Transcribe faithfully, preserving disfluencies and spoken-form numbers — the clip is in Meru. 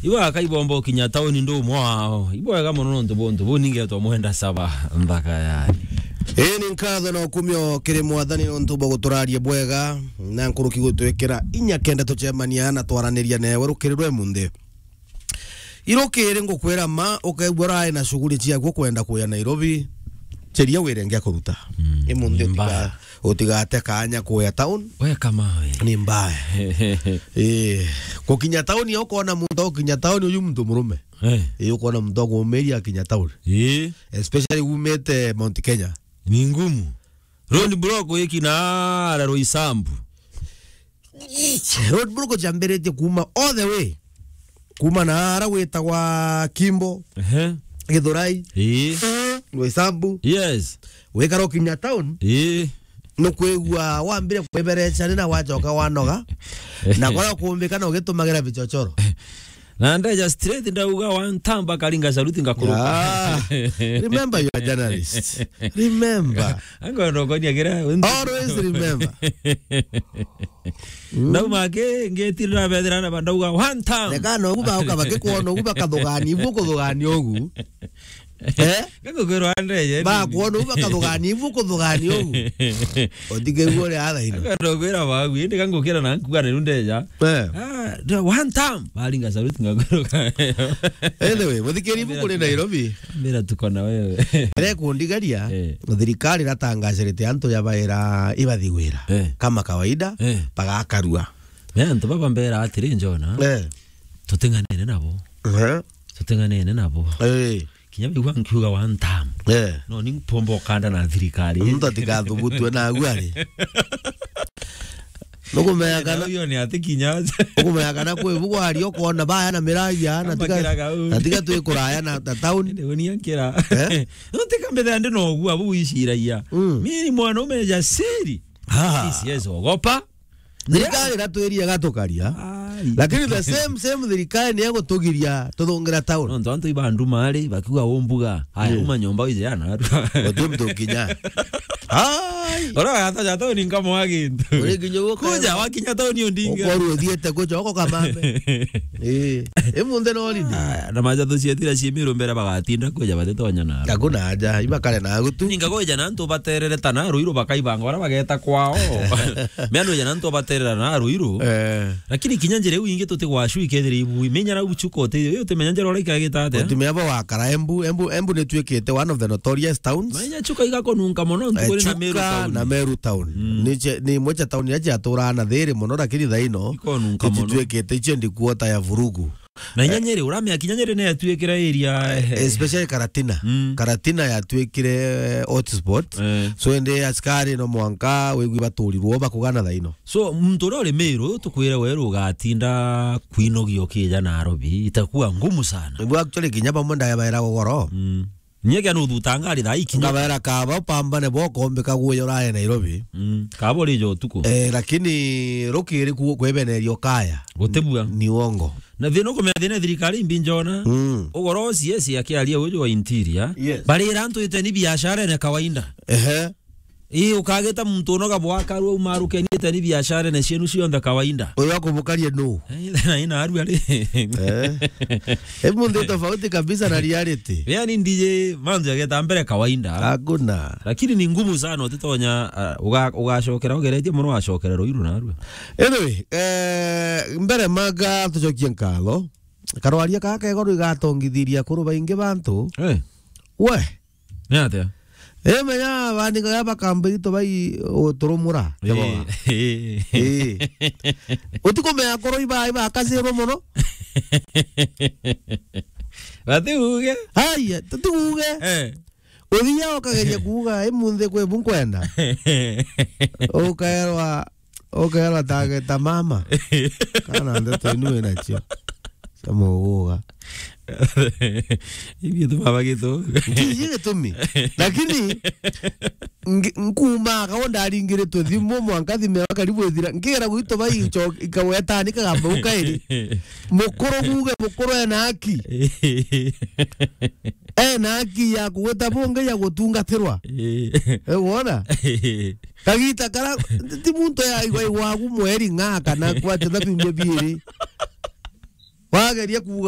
Ibo akaibomba ukinya tauni ndu umwe wao. Ibwega mono nontu buntu bu ningetwa mwenda saba nthaka yani. Ii ni nkatho na ukumio kiri Mwathani nontu bwa guturaria bwega na nkuruki gutwikira inya kenda tucemania na twaraniria newe rukiri rwe munthi. Irukiri ngukwira ma, ukaigua urai na shughuli ciaku kwenda kuya Nairobi, cheria wire ngia kuruta. Mm, i munthi ni mbaya. Utigate kanya kuya town. We kama we. Ni mbaya. Ii, gukinya town yo ukona muntu, ukinya town uyu muntu murume. Eh. Ii, ukona muntu akumiria akinya town. Ii. Especially umite Mount Kenya. Ni ngumu. Road block wiki na ara Roysambu. Road block ciambiritie kuuma all the way. Kuuma na ara gwitagwa Kimbo, ehe, Githurai, ii, Roysambu. Yes. Wikara ukinya town, ii, nukwigua wambire kwibereca ni na wacoka wanoga. Na kora kumbika na ugitumagira vichochoro. Na ndeja straight ndauga one time bakaringa saluti ngakuruka. Ah, remember you are a journalist. Remember. Ango ndo konia kira. Always remember. Mm. Ndauma ki, ngitire na bethira na ndauga one time. Reka no ugu bauka bakikwona ugu bakathugania, ibu kuthugania ugu. Eh? Ngakugwirwa ndeje. Bakwona ugu bakathugania, ibu kuthugania ugu. Utikigua uri athaino. Ngandogwira wagu, indi ngangukira na nkuga ni ndeja. Eh. Ah, the one time. Baringa saluti ngakuruka. Anyway, muthikiri ibu kuri Nairobi. Mira tuko na wewe. Ire kundigaria, eh, thirikari iratangacirite antu ya baira ibathi wira. Eh. Kama kawaida, eh, bagakarua. Me antu baba mbera atiri, Njona, eh, tuting'anene nabo. Eh. Tuting'anene nabo. Eh. Kinya bigua nkiuga one time. Eh. No ni mpombo kanda na thirikari. Muntu atigathubutwe na agu ari. Nukumenya kana, uyo ni ati kinya. Nukumenya kana kwi bugwari ukona baya na miragia, na tiga, na tiga twi kuraya na, na town. Ndio ni akira. Eh? Nutika mbethe ndi no gua bu iciragia. Mm. Mimi ni mwanaume jasiri. Ah. Siwezi ogopa. Thirikari iratwiria gatukaria. Ai. Lakini the same, same thirikari ni egutugiria tuthungira town. Nontu antu ibandu mari, bakiuga umbuga. Haya, yeah, uma nyomba uje yana. Uti mtu kinya. Ai. Ora gata ja town nkamo wa gintu. Uri nginya uka. Kuja wakinya town undinga. Ukoru uthiete kuja uko kamambe. Eh. Imunthi no holiday. Aya, na maja tucietira cimiru mbere bagatinda kuja batitonya na. Hakuna haja, ibakare na gutu. Ninga kuja na antu baterere ta na ruiru bakaibanga ora bageta kwao. Miano ija na antu baterera na ruiru. Eh. Lakini kinya njira iu ingi tutigwacu ikethira ibui. Menya na uchuko te, yo te menya njira ora ikagita ate. Utimenya bo wakara Embu, Embu, Embu ni twikite one of the notorious towns. Menya chuka igakonunka mono ntukuri na Meru town. Eh, Chuka na Meru town. Mm. Ni che, ni imwe cha town ya cha tura na thiri mono, lakini thaino ikonunka mono. Ititwikite iche ndi kuota ya vurugu. Na inya Nyeri, uramea kinya Nyeri ni yatuikire area, eh, especially Karatina. Mm. Karatina yatuikire, eh, hotspot. Eh. So, ende askari no mwanka wigwi baturirwo bakugana thaino. So, muntu uria uri Meru, tukwire weru ugatinda kwinogia ukija Nairobi, itakuwa ngumu sana. Niguo actually kinya bamwe ndabaira gogoro. Mm. Nyeke no thutanga ari thaa ikinya. Ngabera kaba upambane bo kombe kaguyo rae Nairobi. Mm. Kaba uri jo tuko. Eh, lakini rukiri ku kwebenerio kaya. Gutibua. Ni uongo. Na thina ukumenya thina thirikari imbi Njona. Mm. Ugoro C S akiaria uju wa interior. Yes. Barira antu iteni biashara ni kawaida. Ehe. Ii, ukagita muntu unoga bwakaru umarukeni iteni biashara ni cienu cionthe kawaida. Uyu akubukaria nu? Eh, na ina aru ari. Eh. Hebu ndio tofauti kabisa na reality. Yani ndije manzo yageta mbere kawaida. Hakuna. Lakini ni ngumu sana utitonya, ah, uga-, ugacokera ugeretie muno wacokera ruiru na aru. Anyway, eh, mbere maga tucokie nkatho. Karwaria kaka igoro igatongithiria kuru baingi bantu. Eh. We. Ni atia? Eh, menya bandika ya bakambiri to bai uturumura. Eh, keboga. Eh. Eh. Utikumenya koro iba, iba kasirwo muno. Bati uge. Haya, tuti uge. Eh. Uthia ukageria kuuga, "Imunthi kwi bu nkwenda." Ukaerwa, ukaerwa tage ta mama. Kana ndeto inu wina cio. Cia muguga. Ibi tu baba gitu. Ndiji gitumi. Lakini, ngi-, nkumaga o ndaringiritwe thimu, mwanka thimu yakwa karibu ithira. Nkigera gwitũ bai ico-, ikawetani kagamba ukairi. Mukuru guge, mukuru ena haki. Ena haki ya kugwita bunge ya gutungatirwa. Eh. Eh, wona? Kagita kara, ti muntu ya igwa igwa gu mweri ng'a kana kwate na biumia biiri. Wageria kuuga